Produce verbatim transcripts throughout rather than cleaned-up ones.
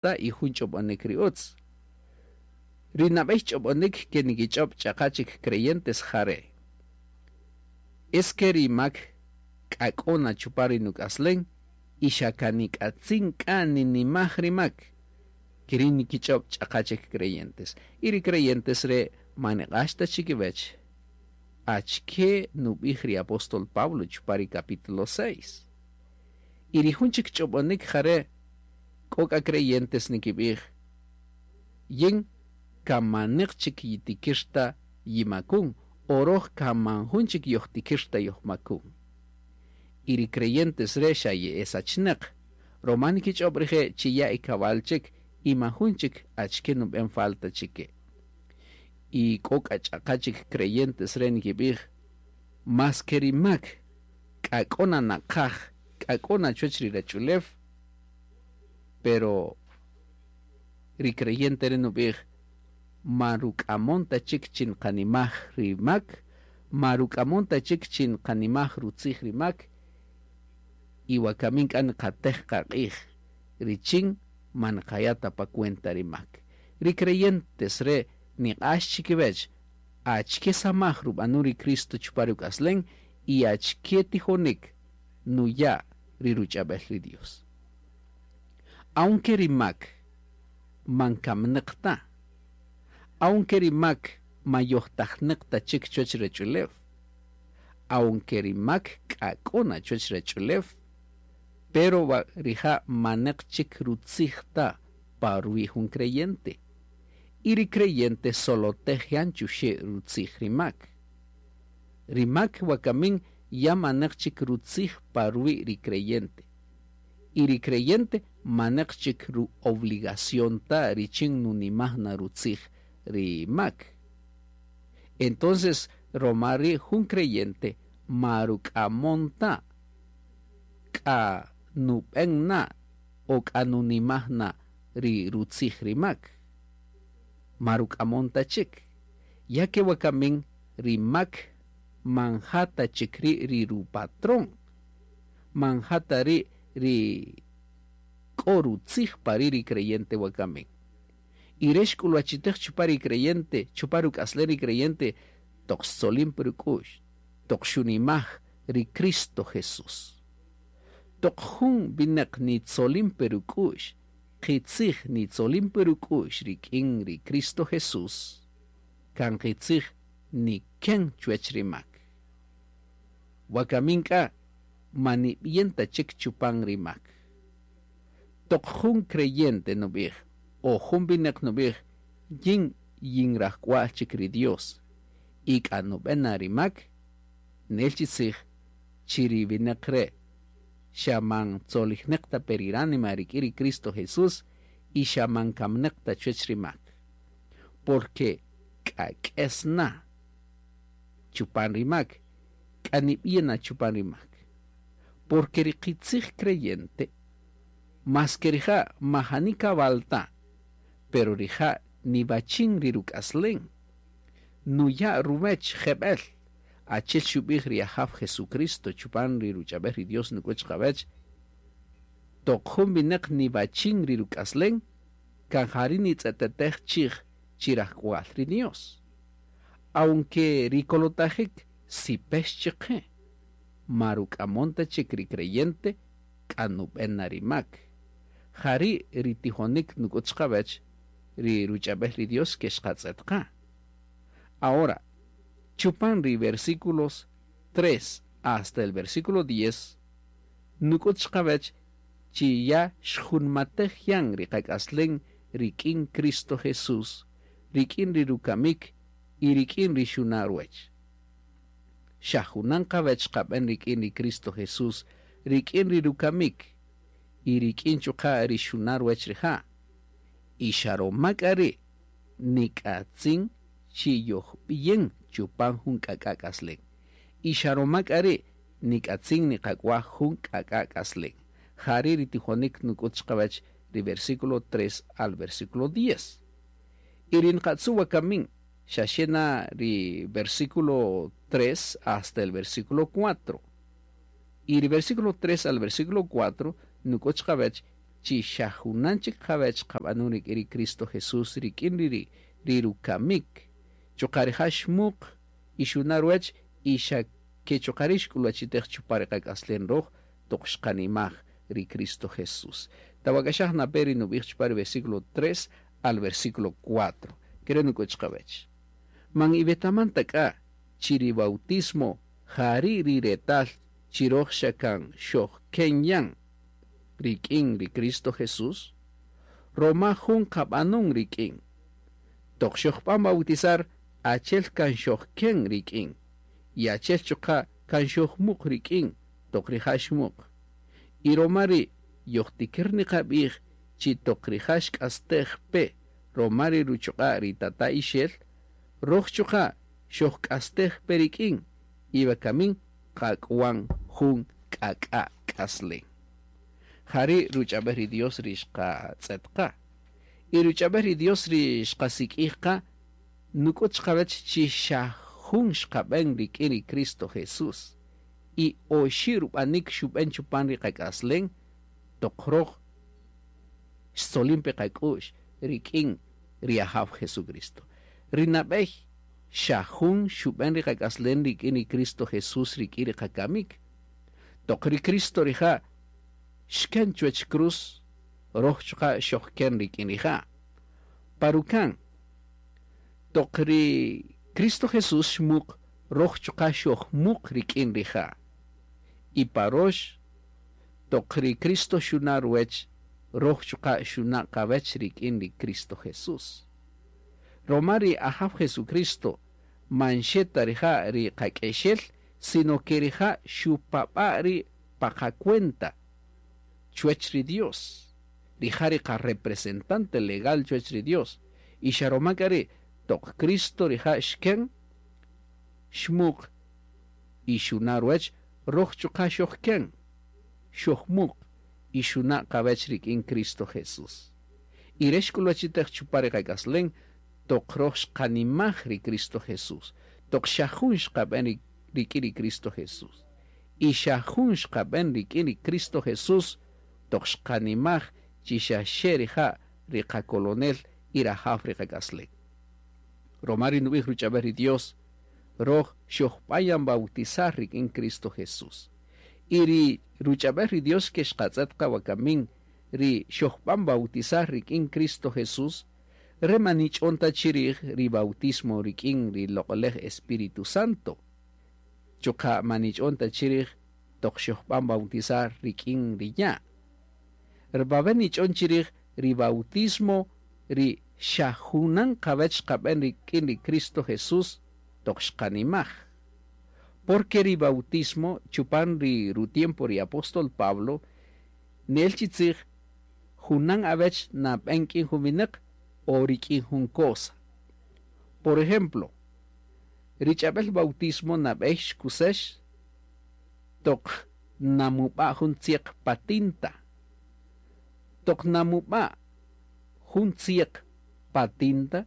Ta y jun ch'ob'onik ri utz. Ri nab'ey ch'ob'onik ke nikich'ob' ch'aqa chik creyentes jare': Es que ri mak k'a k'o na chupan ri nuk'aslen y xa kan nik'atzin k'a ninimaj ri mak. Keri' nikich'ob' ch'aqa chik creyentes. Y ri creyentes re' man niq'ax ta chikiwech achike nub'ij ri apóstol Pablo chupan ri capítulo seis. Y ri jun chik ch'ob'onik jare' k'o k'a creyentes nikib'ij: Yin kan maneq chik yitikir ta yimakun, o roj kan man jun chik yojtikir ta yojmakun. Y ri creyentes re' xa ye'esachneq, roma nikich'ob' rije' chi ya ikab'al chik y man jun chik achike nub'en falta chike. Y k'o k'a ch'aqa chik creyentes re' nikib'ij: Mas ke ri mak k'a k'o na naqaj, k'a k'o na chuwech ri ruwach'ulew, pero ri creyente re' nub'ij: Man ruk'amon ta chik chi nqanimaj ri mak, ma ruk'amon ta chik chi nqanimaj rutzij ri mak, y wakamin k'a nqatej qaq'ij richin man nqaya' ta pa cuenta ri mak. Ri creyentes re' niq'ax chikiwech achike samaj rub'anun ri Cristo chupan ruk'aslen y achike tijonik nuya' ri ruch'ab'el ri Dios. Aunque ri mak man kamneq ta, aunque ri mak man yojtajneq ta chik chuwech ruwach'ulew, aunque ri mak k'a k'o na chuwech ruwach'ulew, pero rija' maneq chik rutzij ta pa ruwi' jun creyente. Y ri creyente solotej yan chuxe' rutzij ri mak. Ri mak wakamin ya maneq chik rutzij pa ruwi' ri creyente. Y ri creyente maneq chik ru obligación ta richin nunimaj na rutzij ri mak. Entonces, roma ri' jun creyente ma ruk'amon ta k'a nub'en na o k'a nunimaj na ri rutzij ri mak. Ma ruk'amon ta chik. Ya ke wakamin ri mak man ja ta chik ri' ri rupatrón, man ja ta ri' ri k'o rutzij pa ri' ri creyente wakamin. Y re' xk'ulwachitej chupan ri creyente, chupan ruk'aslen ri creyente, toq xtzolin pe ruk'u'x, toq xunimaj ri Cristo Jesús. Toq jun wineq nitzolin pe ruk'u'x, qitzij nitzolin pe ruk'u'x rik'in ri Cristo Jesús, kan qitzij niken chuwech ri mak. Wakamin k'a man nib'yen ta chik chupan ri mak. Toq jun creyente nub'ij, o jun wineq nub'ij: Yin yin rajk'wa'l chik ri Dios, y k'a nub'en na ri mak, nel chi tzij chi ri wineq re' xa man tzolijneq ta pe ri ránima rik'in ri Cristo Jesús y xa man kamneq ta chuwech ri mak. Porque k'a k'es na chupan ri mak, k'a nib'yen na chupan ri mak. Porque ri qitzij creyente, mas que rija' majani kab'al ta, pero rija' nib'achin ri ruk'aslen, nuya' ruwech jeb'el, achel xub'ij ri Ajaw Jesucristo chupan ri ruch'ab'el ri Dios nuk'ut qawech: Toq jun wineq nib'achin ri ruk'aslen, kan jari' nitz'etetej chij chi rajk'wa'l ri Dios. Aunque ri kolotajik sipex chiqe, ma ruk'amon ta chik ri creyente k'a nub'en na ri mak. Jari' ri tijonik nuk'ut qawech ri ruch'ab'el ri Dios ke xqatz'et qa. Ahora, chupan ri versículos tres hasta el versículo diez, nuk'ut qawech chi ya xjunmatej yan ri qak'aslen rik'in Cristo Jesús, rik'in ri rukamik y rik'in ri xuna' ruwech. Xa junan qawech qab'en rik'in ri Cristo Jesús, rik'in ri rukamik y rik'in chuqa' ri xuna' ruwech rija'. Y xa roma k'a ri' nik'atzin chi yojb'iyen chupan jun k'ak'a' k'aslen. Y xa roma k'a ri' nik'atzin niqak'waj jun k'ak'a' k'aslen. Jari' ri tijonik nuk'ut qawech ri versículo tres al versículo diez. Y ri nqatzu' wakamin xa xe na ri versículo tres hasta el versículo cuatro. Y ri versículo tres al versículo cuatro nuk'ut qawech chi xa junan chik qawech qab'anun rik'in ri Cristo Jesús rik'in ri ri rukamik, chuqa' rija' xmuq y xuna' ruwech y xa ke chuqa' ri' xk'uluwachitej chupan ri qak'aslen roj toq xqanimaj ri Cristo Jesús. Tawak'axaj na pe ri nub'ij chupan ri versículo tres al versículo cuatro. Kere' nuk'ut chiqawech. Man iwetaman ta k'a chi ri bautismo jari' ri retal chi roj xa kan xojken yan rik'in ri Cristo Jesús, roma jun qab'anun rik'in. Toq xojb'an bautizar, achel kan xojken rik'in, y achel chuqa' kan xojmuq rik'in toq rija' xmuq. Y roma ri' yojtikir niqab'ij chi toq rija' xk'astej pe roma ri ruchuq'a' ri tata ixel, roj chuqa' xojk'astej pe rik'in, y wakamin qak'wan jun k'ak'a' k'aslen. Jari' ruch'ab'ej ri Dios ri xqatz'et qa. Y ruch'ab'ej ri Dios ri xqasik'ij qa, nuk'ut chiqawech chi xa jun xqab'en rik'in ri Cristo Jesús. Y oxi' rub'anik xub'en chupan ri qak'aslen, toq roj xtzolin pe qak'u'x rik'in ri Ajaw Jesucristo. Ri nab'ey xa jun xub'en ri qak'aslen rik'in ri Cristo Jesús rik'in ri qakamik. Toq ri Cristo rija' xken chuwech cruz, roj chuqa' xojken rik'in rija'. Parukan, toq ri Cristo Jesús xmuq, roj chuqa' xojmuq rik'in rija'. Y parox, toq ri Cristo xuna' ruwech, roj chuqa' xuna' qawech rik'in ri Cristo Jesús. Roma ri Ajaw Jesucristo man xe ta rija' ri qak'exel, sino que rija' xupab'a' ri pa qacuenta chuwech ri Dios. Rija' ri qa-representante legal chuwech ri Dios. Y xa roma k'a ri' toq Cristo rija' xken, xmuq y xuna' ruwech, roj chuqa' xojken, xojmuq y xuna' qawech rik'in Cristo Jesús. Y re' xk'uluwachitej chupan ri qak'aslen, toq roj xqanimaj ri Cristo Jesús, toq xa jun xqab'en rik'in ri Cristo Jesús. Y xa jun xqab'en rik'in ri Cristo Jesús, toq xqanimaj chi xa xe rija' ri qakolonel y rajaw ri qak'aslen. Roma ri nub'ij ruch'ab'ej ri Dios, roj xojb'ayan bautizar rik'in Cristo Jesús. Y ri ruch'ab'ej ri Dios ke xqatz'et qa wakamin, ri xojb'an bautizar rik'in Cristo Jesús, re manich'on ta chirij ri bautismo rik'in ri loq'olej Espíritu Santo. Chuqa' manich'on ta chirij toq xojb'an bautizar rik'in ri ya'. Rbabe nich'on chirij ri bautismo ri xa junan qawech xqab'en rik'in ri Cristo Jesús toq xqanimaj. Porque ri bautismo chupan ri rutiempo ri apóstol Pablo, nel chi tzij junan awech nab'en k'in jun winäq o rik'in jun cosa. Por ejemplo, ri ch'ab'el bautismo nab'ey xkusex toq namub'a jun tzieq pa tinta. Toq namub'a jun tzieq pa tinta,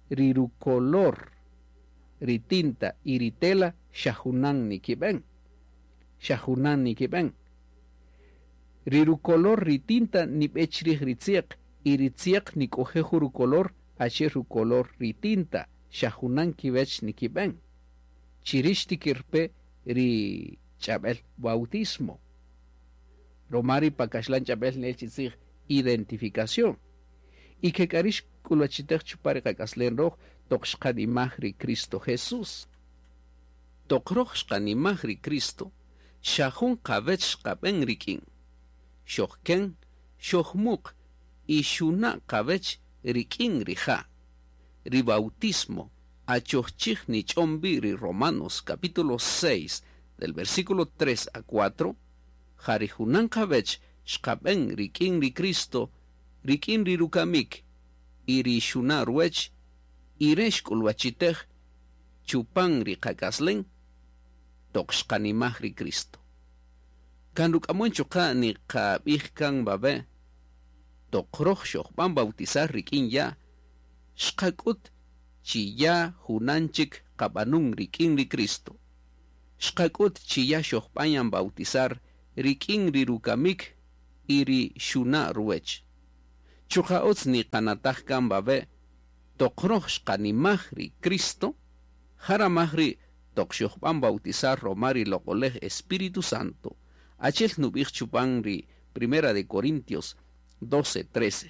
ri rucolor ri tinta y ri tela xa junan nikib'en. Xa junan nikib'en. Ri rucolor ri tinta nib'e chrij ri tzieq y ri tzieq nik'oje jun rucolor achi'el rucolor ri tinta, xa junan kiwech nikib'en. Chirix tikirpe ri ch'ab'el bautismo. Roma ri pa kaxlan ch'ab'el nel chi tzij identificación. Y ke k'a ri' xk'uluwachitej chupan ri qak'aslen roj toq xqanimaj ri Cristo Jesús. Toq roj xqanimaj ri Cristo, xa jun qawech xqab'en rik'in. Xojken, xojmuq y xuna' qawech rik'in rija'. Ri bautismo achojchij nich'on bi ri Romanos capítulo seis del versículo tres a cuatro, ja ri junan qawech xqab'en rik'in ri Cristo, rik'in ri rukamik y ri xuna' ruwech, y re xk'uluwachitej chupan ri qak'aslen toq xqanimaj ri Cristo. Kan ruk'amon chuqa' niqab'ij kan bab'e, toq roj xojb'an bautizar rik'in ya', xqak'ut chi ya junan chik qab'anun rik'in ri Cristo. Xqak'ut chi ya xojb'an yan bautizar rik'in ri rukamik y ri xuna' ruwech. Chuqa' utz niqanataj kan wawe' toq roj xqanimaj ri Cristo, ja ramaj ri' toq xojb'an bautizar roma ri Loq'olej Espíritu Santo, achel nub'ij chupan ri Primera de Corintios doce, trece.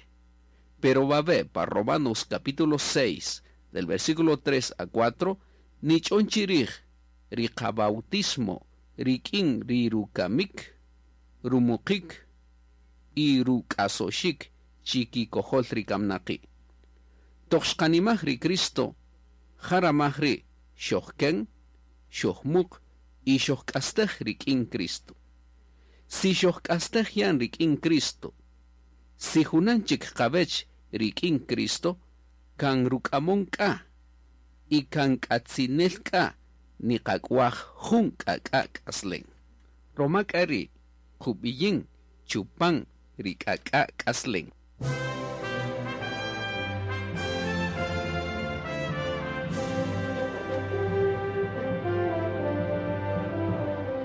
Pero wawe' pa Romanos capítulo seis, del versículo tres a cuatro, nich'on chirij ri qabautismo rik'in ri rukamik, rumuqik y ruk'asoxik chikikojol ri kamnaqi'. Toq xqanimaj ri Cristo, ja ramaj ri' xojken, xojmuq y xojk'astej rik'in Cristo. Si xojk'astej yan rik'in Cristo, si junan chik qawech rik'in Cristo, kan ruk'amon k'a y kan k'atzinel k'a niqak'uaj jun k'ak'a' k'aslen. Roma k'a ri' qub'iyin chupan ri k'ak'a' k'aslen.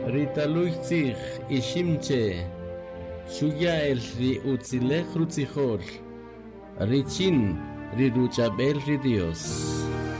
Ritaluy tzij iximche, xuya el ri utzilej rutzijol, richin ri ruchabel ri Dios.